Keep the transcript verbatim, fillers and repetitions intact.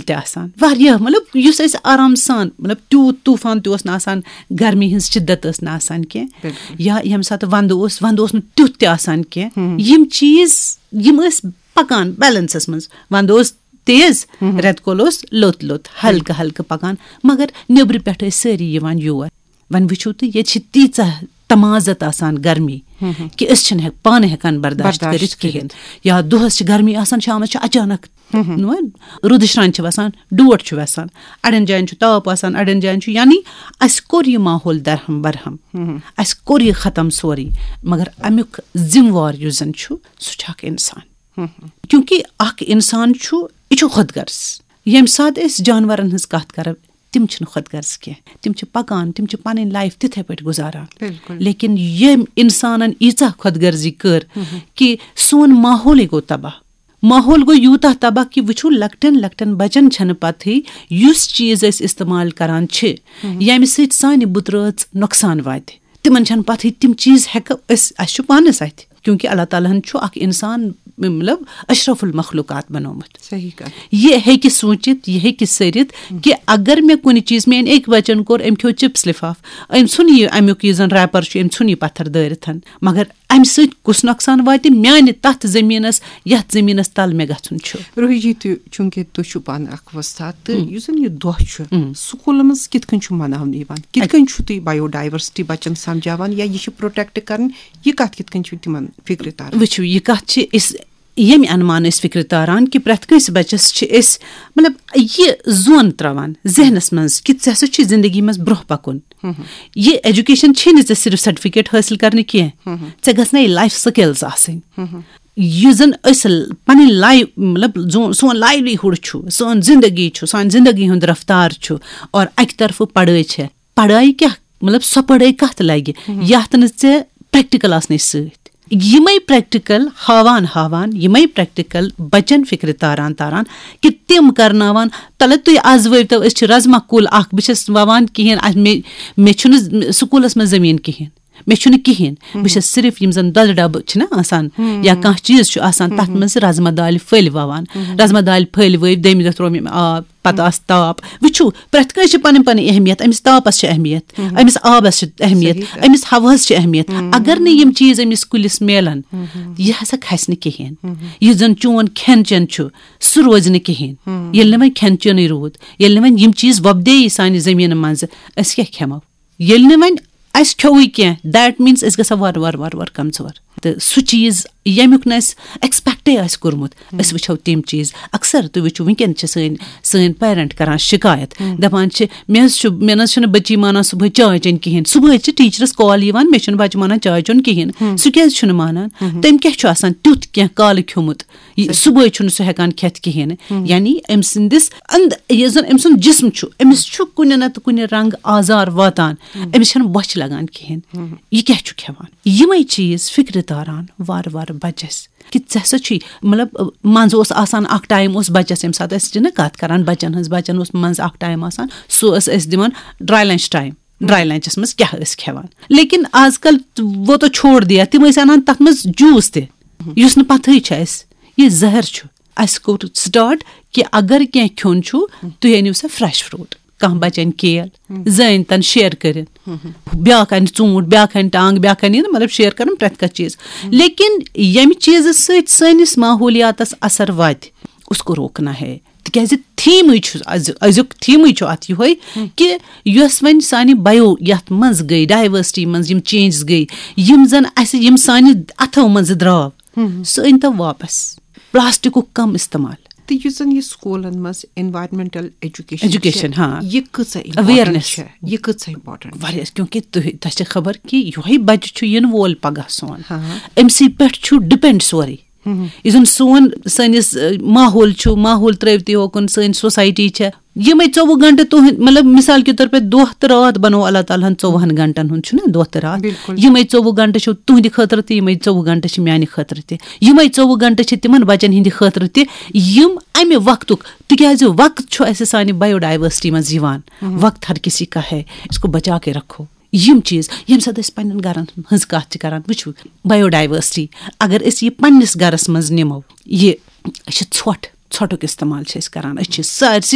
تہِ آسان، واریاہ، مطلب، یُس أسۍ آرام سان، مطلب، تیوٗت طوٗفان تہِ اوس نہٕ آسان، گرمی ہٕنٛز شدت ٲس نہٕ آسان کینٛہہ۔ یا ییٚمہِ ساتہٕ ونٛدٕ اوس، ونٛدٕ اوس نہٕ تیُتھ تہِ آسان کینٛہہ۔ یِم چیٖز، یِم ٲسۍ پکان بیلنسس منٛز۔ ونٛدٕ اوس تیز، رٮ۪تہٕ کول اوس لوٚت لوٚت، ہلکہٕ ہلکہٕ پکان، مگر نیٚبرٕ پٮ۪ٹھ ٲسۍ سٲری یِوان یور۔ وۄنۍ وٕچھِو تُہۍ، ییٚتہِ چھِ تیٖژاہ تمازت آسان گرمی کہِ أسۍ چھِنہٕ ہٮ۪ک-، پانہٕ ہٮ۪کان برداشت برداشت کٔرِتھ کِہیٖنۍ۔ کٔرِتھ۔ یا دۄہس چھِ گرمی آسان، شامس چھِ اچانک، نہ، روٗدٕ شرٛانہِ چھِ وسان، ڈوٹھ چھُ وسان، اڑٮ۪ن جاین چھُ تاپھ آسان، اڑٮ۪ن جاین چھُ، یعنی اَسہِ کوٚر یہِ ماحول درہم برہم، اَسہِ کوٚر یہِ ختم سورُے، مگر امیُک ذمہٕ وار یُس زن چھُ، سُہ چھُ اکھ انسان۔ کیونکہ اکھ انسان چھُ، یہِ چھُ خۄد غرض۔ ییٚمہِ ساتہٕ أسۍ جانورن ہٕنٛز کتھ کرو، تِم چھِنہٕ خۄد غرض کینٛہہ، تِم چھِ پکان، تِم چھِ پنٕنۍ لایف تِتھے پٲٹھۍ گُزاران۔ لیکن ییٚمۍ انسانن ییٖژاہ خۄد غرضی کٔر کہِ سون ماحولٕے گوٚو تباہ۔ ماحول گوٚو یوٗتاہ تباہ کہِ وٕچھِو، لۄکٹٮ۪ن لۄکٹٮ۪ن بچن چھنہٕ پتہٕے یُس چیٖز أسۍ استعمال کران چھِ، ییٚمہِ سۭتۍ سانہِ بُترٲژ نۄقصان واتہِ۔ تِمن چھنہٕ پتہٕے تِم چیٖز ہٮ۪کو أسۍ، اسہِ چھُ پانس اتھِ، کیونکہ اللہ تعالیٰ ہن چھُ اکھ انسان، مطلب، اشرف المخلوقات بنومُت۔ صحیح کتھ۔ یہِ ہیٚکہِ سوٗنٛچِتھ، یہِ ہیٚکہِ سٔرِتھ کہِ اگر مےٚ کُنہِ چیٖز، میٲنۍ أکۍ بچن کوٚر، أمۍ کھیوٚو چپس لفاف، أمۍ ژھُن یہِ امیُک یُس زن ریپر چھُ، أمۍ ژھُن یہِ پتھر دٲرِتھ، مگر امہِ سۭتۍ کُس نۄقصان واتہِ میانہِ تتھ زٔمیٖنس، یتھ زٔمیٖنس تل مےٚ گژھُن چھُ؟ روہی جی، تُہۍ، چوٗنٛکہِ تُہۍ چھِو پانہٕ اکھ وۄستاد، تہٕ یُس زن یہِ دۄہ چھُ، سکوٗلن منٛز کِتھ کٔنۍ چھُ مناونہٕ یِوان؟ کِتھ کٔنۍ چھُو تُہۍ بایو ڈایورسٹی بچن سمجھاوان، یا یہِ چھِ پروٹیکٹ کرٕنۍ، یہِ کتھ کِتھ کٔنۍ چھُو تِمن فکرِ تران؟ وٕچھِو، یہِ کتھ چھِ أسۍ ییٚمہِ انمان أسۍ فکرِ تاران کہِ پرٛٮ۪تھ کٲنٛسہِ بچس چھِ أسۍ، مطلب، یہِ زون ترٛاوان ذہنس منٛز کہِ ژےٚ ہسا چھُے زندگی منٛز برٛونٛہہ پکُن۔ یہِ ایجوکیشن چھے نہٕ ژےٚ صرف سرٹیفکیٹ حٲصِل کرنہِ کینٛہہ، ژےٚ گژھنَے لایف سکلز آسٕنۍ۔ یُس زن أسۍ ل-، پنٕنۍ لایف، مطلب، زون-، سون لایولی ہُڈ چھُ، سٲنۍ زندگی چھُ، سانہِ زندگی ہُنٛد رفتار چھُ، اور اکہِ طرفہٕ پڑھٲے چھےٚ۔ پڑھاے کیٛاہ؟ مطلب، سۄ پڑھٲے کتھ لگہِ یتھ نہٕ ژےٚ پریکٹیکل آسنٕچ سۭتۍ؟ یِمے پریکٹیکل ہاوان ہاوان، یِمے پریکٹیکل بچن فکرِ تاران تاران کہِ تِم کرناوان، تلہٕ تُہۍ از وٲتۍتو، أسۍ چھِ رزما کُل اکھ، بہٕ چھَس وَوان کِہیٖنۍ، اَسہِ، مےٚ، مےٚ چھُنہٕ سکوٗلس منٛز زٔمیٖن کِہیٖنۍ، مےٚ چھُنہٕ کِہیٖنۍ۔ بہٕ چھَس صرف یِم زن دۄدٕ ڈبہٕ چھِنہ آسان یا کانٛہہ چیٖز چھُ آسان، تتھ منٛز رزما دالہِ پھٔلۍ وَوان۔ رزما دالہِ پھٔلۍ ؤوۍ، دوٚیمہِ دۄہ ترٛوو مےٚ آب، پتہٕ آسہٕ تاپھ۔ وٕچھِو، پرٛٮ۪تھ کٲنٛسہِ چھِ پنٕنۍ پنٕنۍ اہمیت۔ أمِس تاپس چھِ اہمیت، أمِس آبس چھِ اہمیت، صحیح کتھ۔ أمِس ہوہس چھِ اہمیت۔ اگر نہٕ یِم چیٖز أمِس کُلِس میلن، یہِ ہسا کھسہِ نہٕ کِہیٖنۍ۔ یُس زن چون کھٮ۪ن چٮ۪ن چھُ، سُہ روزِ نہٕ کِہیٖنۍ۔ ییٚلہِ نہٕ وۄنۍ کھٮ۪ن چٮ۪نٕے روٗد، ییٚلہِ نہٕ وۄنۍ یِم چیٖز وۄپدے یہِ سانہِ زٔمیٖنہٕ منٛزٕ، أسۍ کیٛاہ کھٮ۪مو؟ ییٚلہِ نہٕ وۄنۍ اَسہِ کھیوٚوُے کینٛہہ، that means أسۍ گژھو وارٕ وارٕ وارٕ وارٕ کمزور۔ تہٕ سُہ چیٖز ییٚمیُک نہٕ اَسہِ ایکسپیکٹے آسہِ کوٚرمُت، أسۍ وٕچھو تِم چیٖز۔ اکثر تُہۍ وٕچھِو، وٕنکیٚن چھِ سٲنۍ، سٲنۍ پیرنٹ کران شکایت، دپان چھِ، "مےٚ حظ چھُ، مےٚ نہ حظ چھُنہٕ بچی مانان صبحٲے چاے چیٚنۍ کِہیٖنۍ۔" صبحٲے چھِ ٹیٖچرس کال یِوان، "مےٚ چھُنہٕ بچہِ مانان چاے چیوٚن کِہیٖنۍ۔" سُہ کیٛازِ چھُنہٕ مانان؟ تٔمۍ کیٛاہ چھُ آسان تیُتھ کینٛہہ کالہٕ کھیوٚمُت؟ یہِ صبحٲے چھُنہٕ سُہ ہٮ۪کان کھٮ۪تھ کِہیٖنۍ۔ یعنی أمۍ سٕنٛدِس أنٛد-، یُس زن أمۍ سُنٛد جسم چھُ، أمِس چھُ کُنہِ نتہٕ کُنہِ رنٛگہٕ آزار واتان، أمِس چھَنہٕ بۄچھِ لگان کِہیٖنۍ۔ یہِ کیٛاہ چھُ کھٮ۪وان؟ یِمے چیٖز فکرِ تاران وارٕ وارٕ بچس کہِ ژےٚ ہسا چھُے، مطلب، منٛزٕ اوس آسان اکھ ٹایم اوس بچس، ییٚمہِ ساتہٕ أسۍ چھِنہ کتھ کران بچن ہٕنٛز، بچن اوس منٛزٕ اکھ ٹایم آسان، سُہ ٲس أسۍ دِوان ڈراے لنچ ٹایم۔ ڈراے لنچس منٛز کیٛاہ ٲسۍ کھٮ۪وان؟ لیکن آز کل وہ تو چھوڑ دیا، تِم ٲسۍ انان تتھ منٛز جوٗس تہِ، یُس نہٕ پتہٕے چھُ اَسہِ۔ یہِ زہر چھُ۔ اَسہِ کوٚر سٹارٹ کہِ اگر کینٛہہ کھیوٚن چھُ، تُہۍ أنِو سا فریش فروٹ۔ کانٛہہ بچن کیل، زٲنۍ تن شیئر کٔرِتھ، بیٛاکھ انہِ ژوٗنٛٹھ، بیٛاکھ انہِ ٹانٛگ، بیٛاکھ انہِ یہِ، مطلب، شیئر کرُن پرٛٮ۪تھ کانٛہہ چیٖز۔ لیکن ییٚمہِ چیٖزٕ سۭتۍ سٲنِس ماحولیاتس اثر واتہِ، اس کو روکنا ہے۔ تِکیٛازِ تھیٖمٕے چھُ أزیُک، أزیُک تھیٖمٕے چھُ اَتھ یِہوٚے کہِ یۄس وۄنۍ سانہِ بایو یَتھ منٛز گٔے، ڈایورسٹی منٛز یِم چینجز گٔے، یِم زَن اَسہِ، یِم سانہِ اَتھو منٛز درٛاو، سُہ أنۍ تو واپس۔ پلاسٹکُک کم استعمال۔ تہٕ یُس زَن یہِ سکوٗلَن منٛز environmental education education، چھِ، ہاں۔ یہِ کۭژاہ important awareness۔ چھےٚ؟ یہِ کۭژاہ important چھےٚ؟ واریاہ، کیونکہ تُہۍ، تۄہہِ چھِ خبر کہِ یِہوٚے بَچہٕ چھُ یِنہٕ وول پگاہ سون۔ ہاں۔ أمۍ سٕے پٮ۪ٹھ چھُ depend سورُے۔ یُس زن سون، سٲنِس، ٲ، ماحول چھُ، ماحول ترٲوتھٕے ہوکُن، سٲنۍ سوسایٹی چھےٚ۔ یِمے ژوٚوُہ گنٹہٕ تُہنٛد، مطلب، مثال کے طور پہ دۄہ تہٕ راتھ بنوو اللہ تعالیٰ ہن ژوٚوُہن گنٹن ہُنٛد، چھُنہ دۄہ تہٕ راتھ؟ بِلکُل۔ یِمے ژوٚوُہ گنٹہٕ چھِو تُہنٛدِ خٲطرٕ تہِ، یِمے ژوٚوُہ گنٹہٕ چھِ میانہِ خٲطرٕ تہِ۔ یِمے ژوٚوُہ گنٹہٕ چھِ تِمن بچن ہٕنٛدِ خٲطرٕ تہِ، یِم امہِ وقتُک، تِکیازِ وقت چھُ اسہِ سانہِ بایو ڈائیورسٹی منٛز یِوان۔ وقت ہر کسی کا ہے، اس کو بچا کے رکھو۔ یِم چیٖز، ییٚمہِ ساتہٕ أسۍ پننٮ۪ن گرن ہٕنٛز کتھ چھِ کران، وٕچھِو، بایو ڈائیورسٹی، اگر أسۍ یہِ پننِس گرس منٛز نِمو، یہِ، أسۍ چھِ ژھۄٹھ، ژھۄٹھُک استعمال چھِ أسۍ کران، أسۍ چھِ سٲرسٕے